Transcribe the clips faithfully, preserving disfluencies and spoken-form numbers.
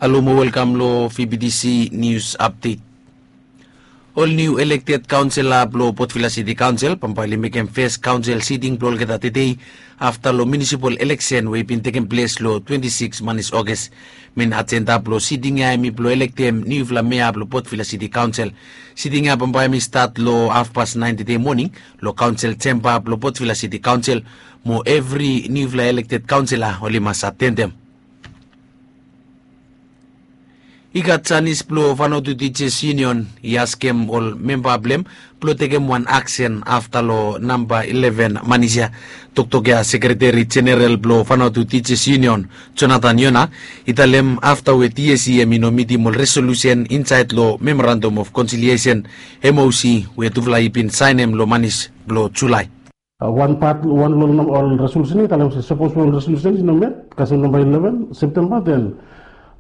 Alo mo welkam lo V B T C News Update. Ol niu elekted kaonsela blo Port Vila City Kaonsel bambae oli mekem fes kaonsel siting blo olgeta tedei afta lo munisipal eleksen we i bin tekem ples lo twenti sikis manis Oges. Mein ajenda blo siting ya hemi blo elektem niufala mea blo Port Vila City Kaonsel. Siting ya bambae hemi stat lo hafpas naen tedei moning lo kaonsel jemba blo Port Vila City Kaonsel, mo evri niufala elekted kaonsela oli mas atendem. I gat janis blo Vanuatu Teachers Union i askem ol memba blem blo tekem wan aksen afta lo namba ileven manis ya. Toktok ya Sekreteri Jeneral blo Vanuatu Teachers Union, Jonathan Yona, i talem afta we T S C hemi no mitim ol resolusen insaed lo Memorandum of Conciliation, M O C, we tufala i bin saenem lo manis blo Julae. Wan pat, wan lo ol resolusen ya i talem se sapos ol resolusen i no met kasem namba ileven Septemba, then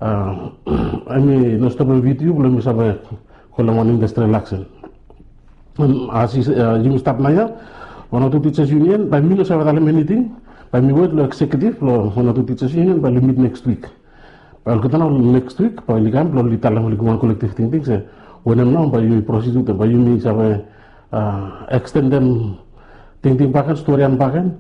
hemi no stopem V T U blo hemi save holem wan industrial action. As yumi stap naoia, Vanuatu Teachers Union, bae mi no save talem eniting. Bae mi wet lo executive blo Vanuatu Teachers Union bae oli mit next week. Bae olgeta nao next week bae oli kam blo oli talem, oli givim wan kolektiv tingting se wanem nao bae yumi prosid wetem, bae yumi save ekstendem tingting bakegen, storian bakegen.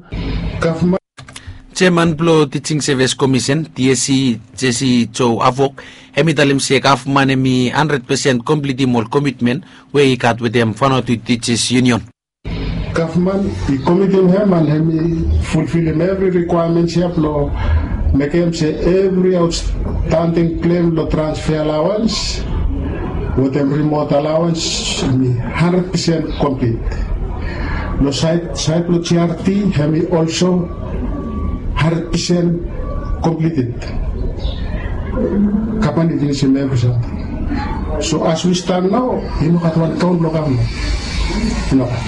Jeman blo Teaching Service Commission, T S C, Jesse Joe Avok, hemi talem se gavman hemi handred pesen komplitim ol komitmen we i gat wetem Vanuatu Teachers Union. Gavman i komitim hem and hemi fulfilim evri rikwaemens ya blo mekem se evri aotstanding klem lo transfer alawans wetem rimot alawans hemi handred pesen komplit. Lo saed, saed blo G R T hemi olso handred pesen komplited. Gavman i finisim evri samting. So as we stand nao, i no gat wan kaon blo gavman. I no gat.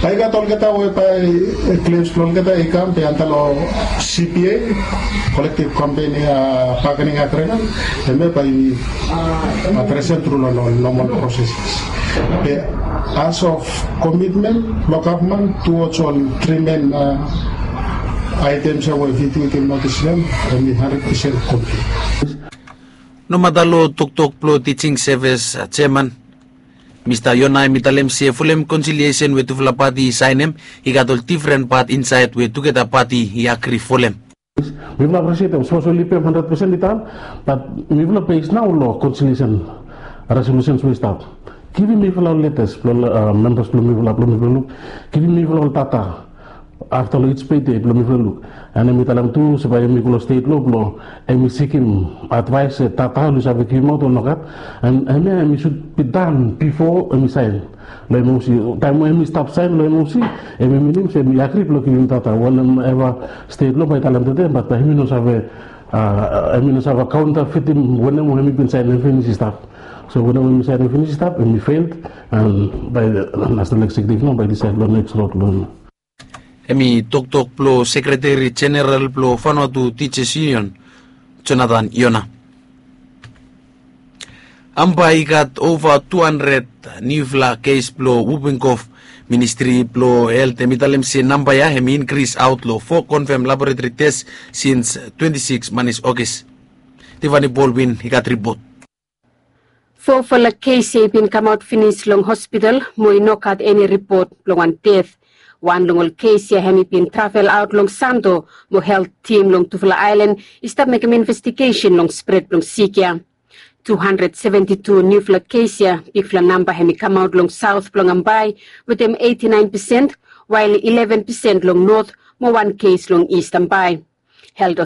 Bae i gat olgeta we bae klems blo olgeta i kam be anda lo C B A, Collective Company Bargaining Agreement, hemia bae i adresem tru lo nomal proseses. Be as of commitment blo gavman towards ol tri men aetems ya we V T U i givim notis lo hem, hemi handred pesen komplit. Nomata lo toktok blo Teaching Service Jeman, Mista Yona hemi talem se folem konsiliesen we tufala pati i saenem, i gat ol difren pat insaed we tugeta pati i agri folem. Mifala aprisietem sapos oli pem handred pesen i tan, bat mifala bes nao lo konsiliesen resolusens we i stap. Givim mifala ol letas blo membas blo mifala, blo mifala luk. Givim mifala ol data afta lo ij pei dei blo mifala luk. And hemi talem tu se bae hemi go lo stet lo blo hemi sikim advaes se data oli save givimaot o nogat. And hemia hemi sud bi dan bifo hemi saen lo M O C. Taem we hemi stap saen lo M O C, hemi minim se hemi agri blo givim data wanem eva stet lo bae i talem tede, bat bae hemi no save, hemi no save kaontafitim wanem we hemi bin saenem finis i stap. So wanem we hemi saenem finis i stap, hemi fel, and bae nasenal eksekiutiv nao bae i disaed lo neks rod lo hemi. Hemi toktok blo Sekreteri Jeneral blo Vanuatu Teachers Union, Jonathan Yona. Bambae i gat ova tu handred niufala kes blo wuping kof. Ministri blo Helt hemi talem se namba ya hemi inkris aot lo fo konfam laboretori tes sins twenti sikis manis Oges. Tiffany Baldwin i gat ripot. Fofala kes ya i bin kamaot finis long hospital mo i no gat eni ripot blong wan det. Wan long ol kes ya hemi bin travel aot long Santo, mo helt tim long tufala aelan i stap mekem investigesen long spred blong sik ya. Tu handred seventi tu niufala kes ya, bigfala namba hemi kamaot long saot blong Bambae wetem eiti naen pesen, wael ileven pesen long not mo wan kes long Ist Bambae. Helt